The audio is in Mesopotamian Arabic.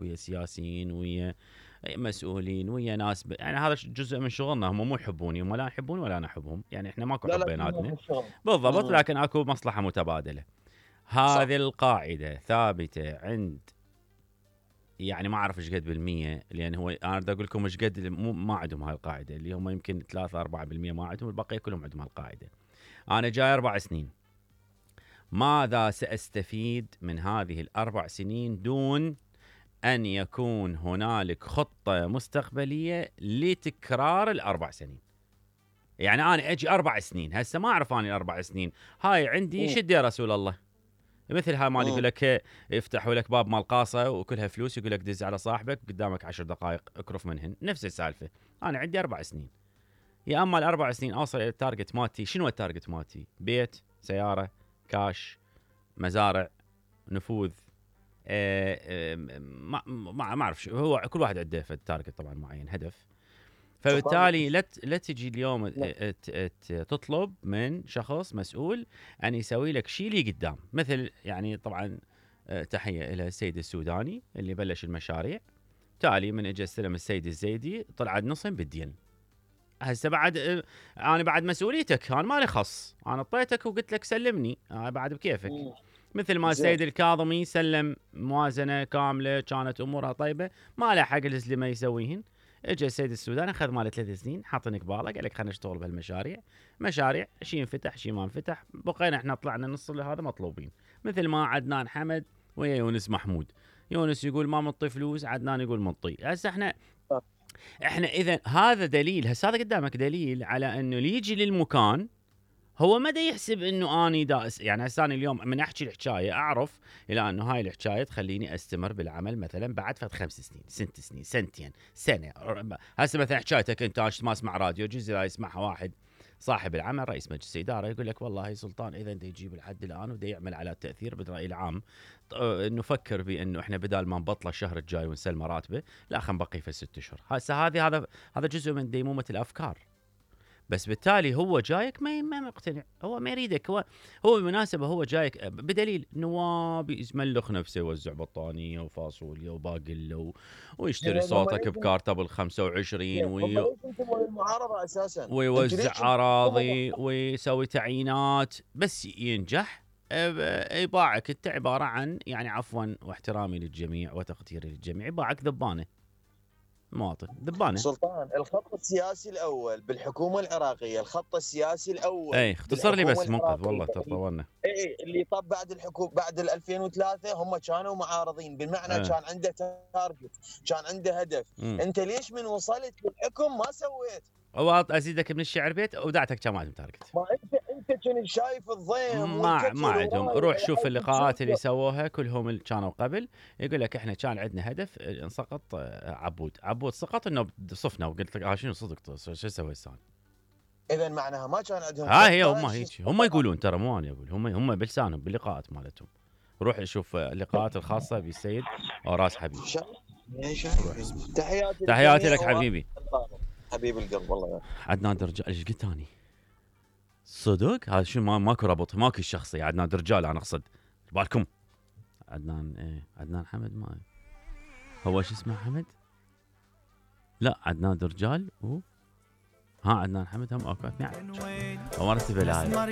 ويا سياسيين ويا مسؤولين ويا ناس يعني هذا جزء من شغلنا. هم مو يحبوني، هم لا يحبوني ولا انا احبهم، يعني احنا ماكو حب بيناتنا بالضبط، لكن اكو مصلحه متبادله. هذه القاعده ثابته عند، يعني ما اعرف ايش قد بالمية، لان هو انا بدي اقول لكم ايش قد ما عندهم هاي القاعده، اللي هم يمكن 3-4% ما عندهم، البقيه كلهم عندهم هالقاعده. انا جاي 4 سنين، ماذا سأستفيد من هذه ال4 سنين دون أن يكون هنالك خطة مستقبلية لتكرار ال4 سنين؟ يعني أنا أجي 4 سنين هسه ما أعرف أنا ال4 سنين هاي عندي شد يا رسول الله، مثل هاي مال يقول لك يفتحوا لك باب مال قاصة وكلها فلوس، يقول لك دز على صاحبك قدامك 10 دقائق اكرف منهن، نفس السالفة. أنا عندي 4 سنين، يا أما ال4 سنين أوصل إلى التارجت مالتي. شنو التارجت مالتي؟ بيت، سيارة، كاش، مزارع، نفوذ، ما اعرف شو هو، كل واحد عنده تارجت طبعا معين، هدف. فبالتالي لا تجي اليوم تطلب من شخص مسؤول ان يسوي لك شيء اللي قدام، مثل يعني طبعا تحيه الى السيد السوداني اللي بلش المشاريع، تالي من اجى استلم السيد الزيدي طلع نصهم بالدين. هسه بعد انا بعد مسؤوليتك، انا مالي خص، انا اعطيتك وقلت لك سلمني، بعد بكيفك. مثل ما السيد الكاظمي سلم موازنه كامله كانت امورها طيبه، ما له حق الزلمه يسويهن. اجى السيد السوداني اخذ ماله 3 سنين، حاطني قباله، قال لك خلينا نشتغل بهالمشاريع، مشاريع شيء انفتح شيء ما انفتح، بقينا احنا طلعنا نص اللي هذا مطلوبين. مثل ما عدنان حمد ويا يونس محمود، يونس يقول ما منطي فلوس، عدنان يقول منطي. هسه احنا اذا هذا دليل، هسه هذا قدامك دليل على انه اللي يجي للمكان هو ما دا يحسب انه اني داس. يعني هسه انا اليوم من احكي الحكايه اعرف الى انه هاي الحكايه تخليني استمر بالعمل مثلا بعد فد 5 سنين 6 سنين سنتين سنه. هسه مثلا حكايتك انت ما اسمع راديو، جزء لا يسمعها واحد صاحب العمل رئيس مجلس اداره يقول لك والله سلطان اذا انت يجيب الحد الان ودا يعمل على التاثير بالراي العام، نفكر بانه احنا بدال ما نبطله الشهر الجاي ونسلم راتبه، لا خلينا نبقي في 6 اشهر. هسه هذا جزء من ديمومه الافكار. بس بالتالي هو جايك ما مقتنع، هو ما يريدك، هو بالمناسبه هو جايك بدليل نواب يزملخ نفسه، يوزع بطانيه وفاصوليا وباقله ويشتري صوتك بكارته بال25 المعارضه اساسا، ويوزع اراضي ويسوي تعيينات، بس ينجح يباعك انت عباره عن، يعني عفوا واحترامي للجميع وتقديري للجميع، يباعك ذبانه، مواطن ذبانه. سلطان الخط السياسي الاول بالحكومه العراقيه، الخط السياسي الاول اي اختصر لي بس منقذ والله طولنا. اي اللي طب بعد الحكومه بعد 2003 هم كانوا معارضين، بالمعنى كان عنده تارجت، كان عنده هدف. انت ليش من وصلت للحكم ما سويت؟ ازيدك من الشعر بيت ودعتك كان عندهم تارجت. ما انت كنت شايف الضيم ما عندهم. روح شوف اللقاءات اللي سووها كلهم اللي كانوا قبل، يقول لك احنا كان عندنا هدف انسقط عبود سقط انه صفنا، وقلت لك شنو صدق شو اسوي هسه؟ اذا معناها ما كان عندهم. هي هم هيك هم يقولون، ترى مو انا اقول، هم بلسانهم باللقاءات مالتهم. روح شوف اللقاءات الخاصه بالسيد راس حبيب. تحياتي لك حبيبي، حبيب القلب والله. عدنان درجال ايش قلت اني؟ صدق هذا شو ماكو ربط، ماكو الشخصيه. عدنان درجال انا اقصد بالكم عدنان عدنان حمد، ما هو شو اسمه حمد؟ لا عدنان درجال عدنان حمد هم اوكي. نعم هو رتب لها